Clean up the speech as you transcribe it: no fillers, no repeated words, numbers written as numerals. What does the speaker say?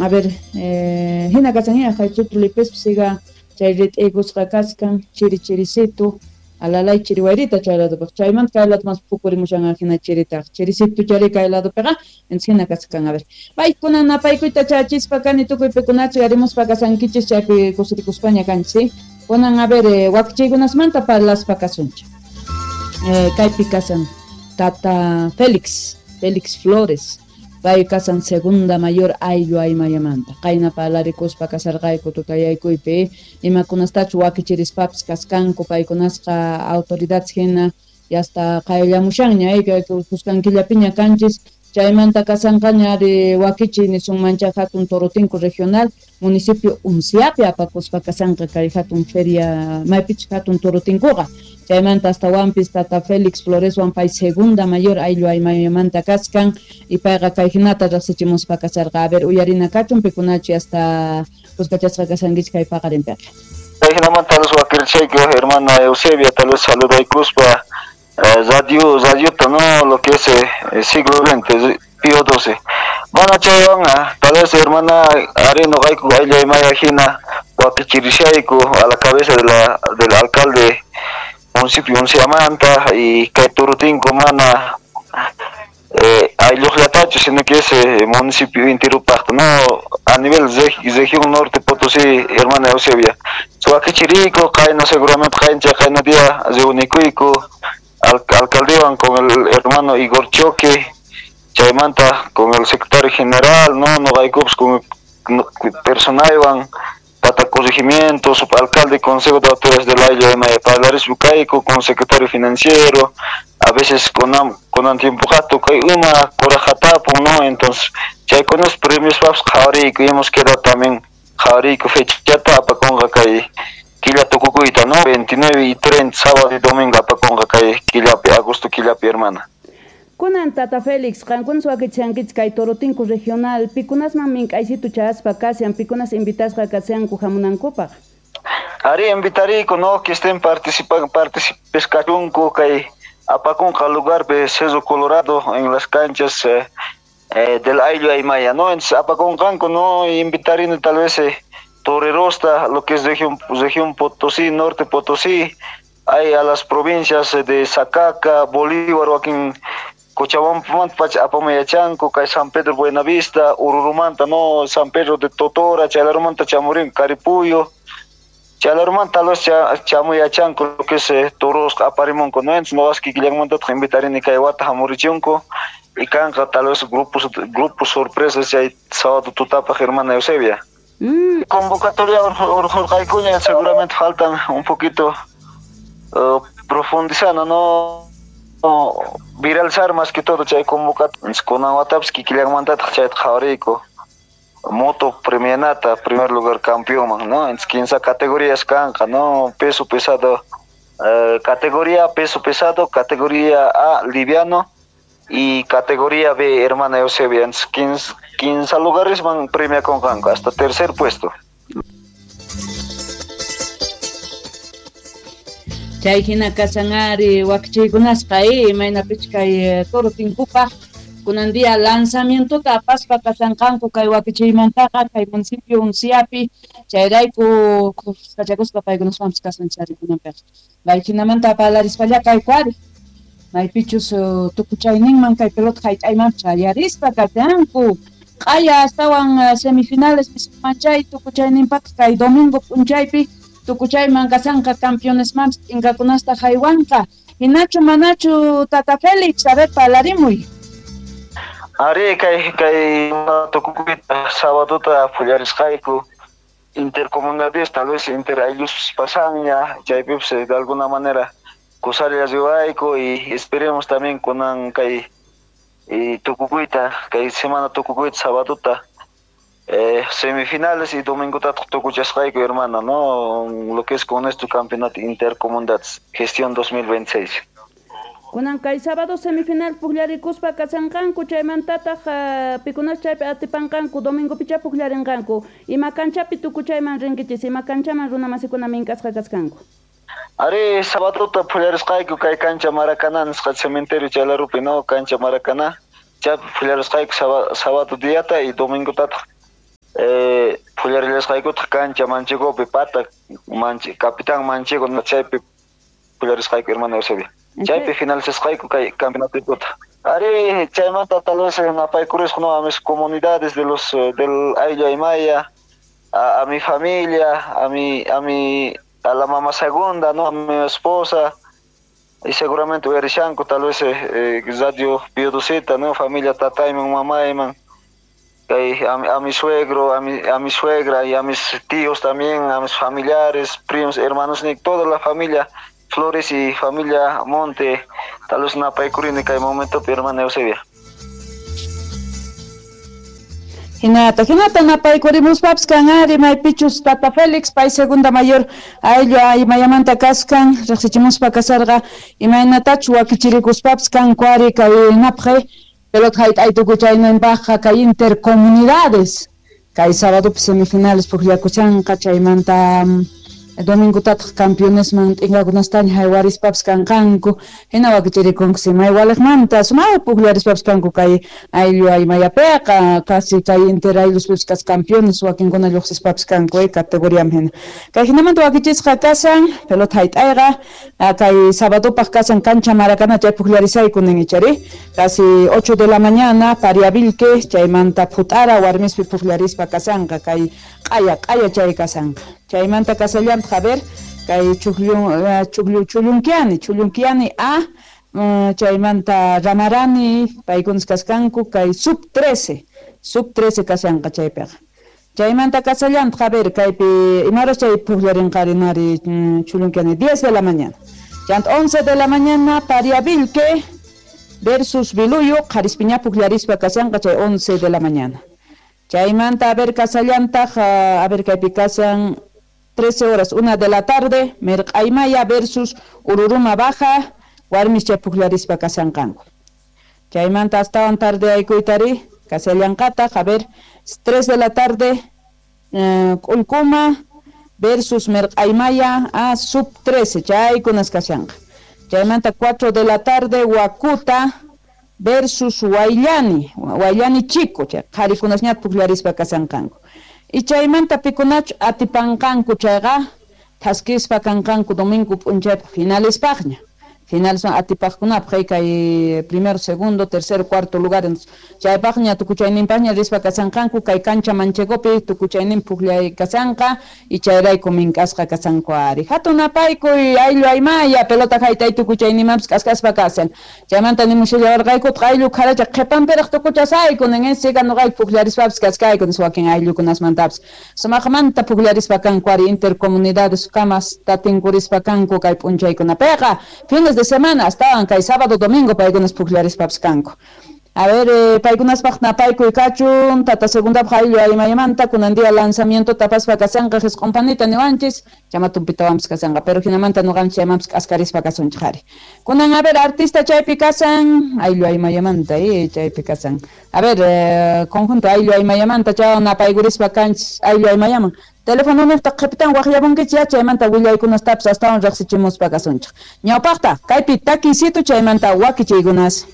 A ver, hina kashan jaychutu lipispa siga chay rit'iykusqa kachkan chiri chirisitu alalay chiri wayrita chay ladopiqa chaymanta kay lado mas pukurimushan hina chiritaqa chirisitu chari kay ladopiqa entonces hina kachkan. A ver, paykuna napaykuyta chachispa kani tukuy pikunachu yarimuspa kasankichis chaypi kusirikuspaña kanchis, ¿sí? Kunan a ver, wakichiykunasmanta parlaspa kasunchik. Kaypi kasan Tata Félix Flores, pay kasan segunda mayor ayllu aymayamanta qayna parlarikuspa kasarqayku tutayaykuypi imakunastachu wakichirispapis kaskanku paykunasqa autoridades hina yasta qayllamushanña kuskankillapiña kanchis chaymanta kasanqaña ari wakichi nisunmancha hatun Torotinku regional municipio Unciapi apakuspa kasanqa kay hatun feria maypichus hatun Torotinkuqa chaymanta astawanpis Tata Félix Floreswan pay segunda mayor ayllu aymayamanta kaskan y payqa kay hinata riqsichimuspa kasarqa. A ver, uyarina kachun pikunachi hasta kuskachasqa kasankichik kay paqarinpiqa. Kay hinamanta los wakirchayku hermana Eusebia tal vez saludaykuspa radiota, no, lo que es siglo XX, Pío XII. Bueno, chaywan, tal vez hermana Areno Gaiku Ayllu Aymaya hina wakichirishayku a la cabeza de la del alcalde municipio Unciamanta y kay Torotinku mana aylluqllatachu sino que es municipio intirupaqta, no, a nivel región norte Potosí, hermana Eusebia. Wakichiriku qayna seguramente qayncha qayna día reunikuyku alcaldewan con el hermano Igor Choque, chaymanta con el secretario general, no, noqaykupas con personaywan tata corregimiento, subalcalde, consejo de autoridades del ayllu Aymaya parlarispa kayku con secretario financiero, a veces con tiempo jato kay uma kurajatapun, no, entonces chaykunas premios paps qhawariyku hemos quedado también qhawariyku fechata apakunqa kay killa tukukuyta, no, 29 y 30 sábado y domingo apakunqa kay killapi, agosto killapi, hermana. Kunan Tata Félix, qankunas wakichankichik kay Torotinku regional, pikunasman mink'aysitu chaspa kashan, pikunas invitasqa kashanku hamunankupaq. Ari invitariku, no, que estén participes kachunku kay apakunqa lugar de Cerro Colorado en las canchas del Ayllu Aymaya, no, entonces apakunqanku, no, invitarino tal vez Torerosta, lo que es región Potosí, norte Potosí, hay a las provincias de Sacaca, Bolívar, Joaquín, Cochabamba, Apamayachanco, kay San Pedro Buenavista, Ururumanta, no, San Pedro de Totora, Chalarumanta, Chamurín, Caripuyo, Chalarumanta, los Chamuyachanco, lo que es Toros, Aparimonco, no, entonces no vas que Guillermo invitarín y Kaiwata, Hamurichunco, y Canca, tal vez grupos sorpresas, y hay sábado tutapa, hermana Eusebia. Convocatoria urjurqaykuña, seguramente faltan un poquito profundizando, no, viralizar más que todo chay convocatoria kunan watapis kikillanmantataq chayta qhawariyku moto premianata primer lugar campeón, no, entonces 15 categorías kanqa, no, peso pesado, categoría peso pesado, categoría A liviano y categoría B hermana Eusebia, entonces 15 lugares van premia con kanqa hasta tercer puesto. Chay hina kasanari wakichiykunasqa imaynapich kay Torotinkupaq kunan día lanzamientota apaspa kasanqanku kay wakichiymantaqa kay municipio Unciapi chayrayku kachakuspa paykunaswanpis kasanchari kunanpiqa mayhinamanta parlarispalla kayku ari maypichus tukuchayninman kay pelota hayt'aymanpis chayarispa kashanku q'aya astawan semifinales nisunmanchay tukuchayninpaq kay domingo p'unchaypi tukuchayman kasanqa campeonesmanpis t'inkakunasta haywanqa. Hinachu manachu Tata Félix, a ver parlarimuy. Ari kay tukukuyta sabadota pullarisqayku intercomunidades tal vez inter ayllus pasanña chaypipis de alguna manera kusalla riwayku y esperemos también kunan kay tukukuyta kay semana tukukuyta sabadota semifinales y domingo tukuchasqayku hermana, no, lo que es con este campeonato intercomunidades gestión 2026. Kunan kay sábado semifinal pujllarikuspa kasanqanku chaymantataq pikunas chaypi atipanqanku domingo picha pujllarinqanku ima kanchapi tukuchayman rinkichis ima kanchaman runa masikuna mink'asqa kasqanku. Ari sabadota pujllarisqayku kay cancha Maracaná nisqa cementerio chaylarupi, no, cancha Maracaná chaypi pujllarisqayku sábado diata y domingotataq Phullarillasqaykutaq cancha Manchegopi pata Capitán Manchego chaypi phullarisqayku hermana Eusebia. Chaypi finalizasqayku kay campeonatoykuta. Ari chaymanta tal vez napaykurisqa no a mis comunidades de los del ayllu Aymaya, a mi familia, a la mamá segunda, no, a mi esposa, y seguramente uyarishanku tal vez radio Piodosita, no, familia tatayman, mamayman, a mi suegro, a mi suegra y a mis tíos también, a mis familiares, primos, hermanos, toda la familia Flores y familia Monte, tal vez napaykurini kay momento hermana Eusebia. Hinata, hinata napaykurimuspapas kan ari maypichus Tata Félix, pay segunda mayor ayllu aymayamanta kaskan, riqsichimuspa kasarqa imaynatachu wakichirikuspapas kanku ari kay napqe pelota hayt'ay tukuchayninpaqqa kay intercomunidades kay sábadopi semifinales pukllakuchanqa chaymanta domingotataq campeonesman t'inkakunastaña haywarispapas kanqanku hina wakichirikunku simay waliqmanta sumay pukllarispapas kanku kay ayllu aymayapiqa casi kay inter aylluspipas kas campeones wakinkuna lluqsispapas kanku categoriaman hina kay hinamanta wakichisqa kasan pelota hayt'ayqa kay sabadopaq kasan cancha Maracaná chay pukllarisayku nin ichari casi 8 de la mañana Pariavilque chaymanta Phut'ara warmispi pukllarispa kasanqa kay q'aya q'aya chay kasanqa chaymanta kasallantaq a ver kay chullunkiani a chaymanta Ramarani paykunas kaskanku kay sub 13 kasanqa chaypiqa chaymanta kasallantaq a ver kaypi imaras chay pukllarinqarinari chullunkiani 10 de la mañana chanta 11 de la mañana Pariavilque versus Biluyo qharispiña pukllarispa kasanqa chay 11 de la mañana chaymanta a ver kasallantaq a ver kaypi kasan 13 horas, 1 de la tarde, Merq'aymaya versus Ururuma Baja, warmis chay pukllarispa kasanqanku. Chaymanta astawan tarde aykuytari, kasallanqataq, a ver, 3 de la tarde, K'ullkuma versus Merq'aymaya a sub 13, chaykunas kashanqa. Chaymanta 4 de la tarde, Huacuta versus Huayllani, Huayllani Chico, chay qharikunasñat pukllarispa kasanqanku. Y chaymanta pikunachu atipanqanku chayqa thaskispa kanqanku domingo p'unchaypaq finalespaqña. Finales son atipaqkunapaq kay primero, segundo, tercero, cuarto lugar. Chaypaqña tukuchayninpaqña rispa kasanqanku kay cancha Manchegopi tukuchaynin pukllay kasanqa y chayrayku mink'asqa kasanku ari. Hatun napaykuy ayllu aymaya pelota haytay tukuchayninmanpas k'askaspa kasan. Chaymanta nimushallawarqaykutaq ayllu kharacha qhipanpiraq tukuchasayku nin siga nuqayku pukllarispapas kaskayku nis wakin ayllukunasmantapas. Sumaqmanta pukllarispa kanku ari intercomunidades kamas tatinkurispa kanku kay p'unchaykunapiqa. Fines de semana astawan kay sábado domingo paykunas pukllarispapas kanku. A ver, paykunaspaq napaykuy kachun tata segundapaq ayllu aymayamanta kunan día lanzamiento tapaspa kasanqa jisq'unpanita niwanchis chamatunpitawanpas kasanqa pero hinamanta nuqanchis chaymanpas k'askarispa kasunchik ari. Kunan a ver artista chaypi kasan ayllu aymayamanta chaypi kasan. A ver, conjunto ayllu aymayamanta chaywan napaykurispa kanchis ayllu aymayaman. Teléfono niqta qhipitan waqllamunkichik chaymanta willaykunastapas astawan riqsichimuspa kasunchik. Ñawpaqta kaypi takiysitu chaymanta wakichiykunas.